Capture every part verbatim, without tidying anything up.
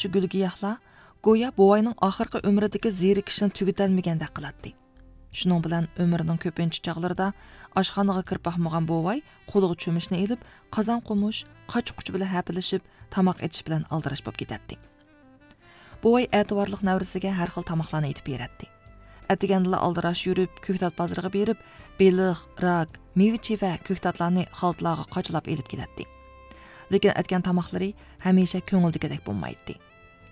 شۇ گۈل-گىياھلار گويا بوۋاينىڭ ئاخىرقى ئۆمرىدىكى زېرىكىشىنى تۈگىتەلمىگەندەك قىلاتتى. شۇنىڭ بىلەن ئۆمرىنىڭ كۆپىنچە چاغلىرىدا ئاشخانىغا كىرىپ باقمىغان بوۋاي قولىغا چۆمۈچنى ئېلىپ، قازان-قومۇش، قاچا-قۇچا بىلەن ھەپىلىشىپ، تاماق ئېتىش بىلەن ئالدىراش بولۇپ كېتەتتى. بوۋاي ئەتىۋارلىق نەۋرىسىگە ھەر خىل تاماقلارنى ئېتىپ بېرەتتى. ئەتىگەندىلا ئالدىراش يۈرۈپ، كۆكتات بازىرىغا بېرىپ، بېلىق، راك، مېۋە-چىۋە، كۆكتاتلارنى خالتىلارغا قاچىلاپ ئېلىپ كېلەتتى. لېكىن ئەتكەن تاماقلىرى ھەمىشە كۆڭۈلدىكىدەك بولمايتتى.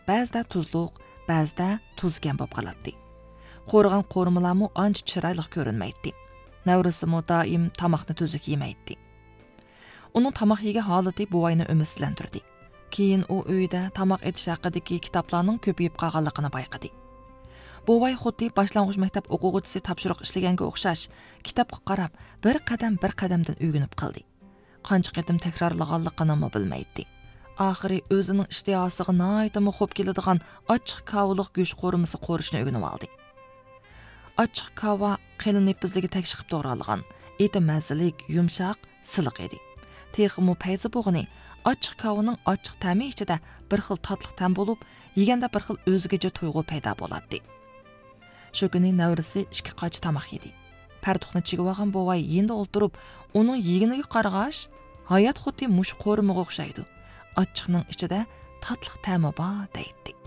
بەزىدە تۇزلۇق، بەزىدە تۇزكەم بولۇپ قالاتتى. قورۇغان قورۇمىلارمۇ ئانچە چىرايلىق كۆرۈنمەيتتى. نەۋرىسىمۇ دائىم تاماقنى تۈزۈك يېمەيتتى. ئۇنىڭ تاماق يېگەن ھالىتى بوۋاينى ئۈمىدسىزلەندۈردى. كېيىن ئۇ ئۆيىدە تاماق ئېتىش ھەققىدىكى كىتابلارنىڭ كۆپىيىپ قالغانلىقىنى بايقىدى. بوۋاي خۇددى باشلانغۇچ مەكتەپ ئوقۇغۇچىسى تاپشۇرۇق ئىشلىگەنگە ئوخشاش، كىتابقا قاراپ، بىر قەدەم، بىر قەدەمدىن ئۆگىنىپ قالدى. قانچە قېتىم تەكرارلىغانلىقىنىمۇ بىلمەيتتى. ئاخىرى ئۆزىنىڭ ئىشتىھاسىغا ناھايىتىمۇ خوپ كېلىدىغان ئاچچىق كاۋىلىق گۆش قورۇمىسى قورۇشنى ئۆگىنىۋالدى. ئاچچىق كاۋا قېلىن نېپىزلىكى تەكشى قىلىپ توغرالغان، ئېتى مەززىلىك، يۇمشاق، سىلىق ئىدى. تېخىمۇ پەيزى بولغىنى، ئاچچىق كاۋىنىڭ ئاچچىق تەمى ئىچىدە بىر خىل تاتلىق تەم بولۇپ، يېگەندە بىر خىل ئۆزگىچە تۇيغۇ پەيدا بولاتتى. شۇ كۈنى نەۋرىسى ئىككى قاچا تاماق يېدى. پەرتۇقنى چىگىۋالغان بوۋاي يېنىدا ئولتۇرۇپ، ئۇنىڭ يېگىنىگە قارىغاچ، ھايات خۇددى مۇشۇ قورۇمىغا ئوخشايدۇ. ئاچچىقنىڭ ئىچىدە تاتلىق تەمى بار، دەيتتى.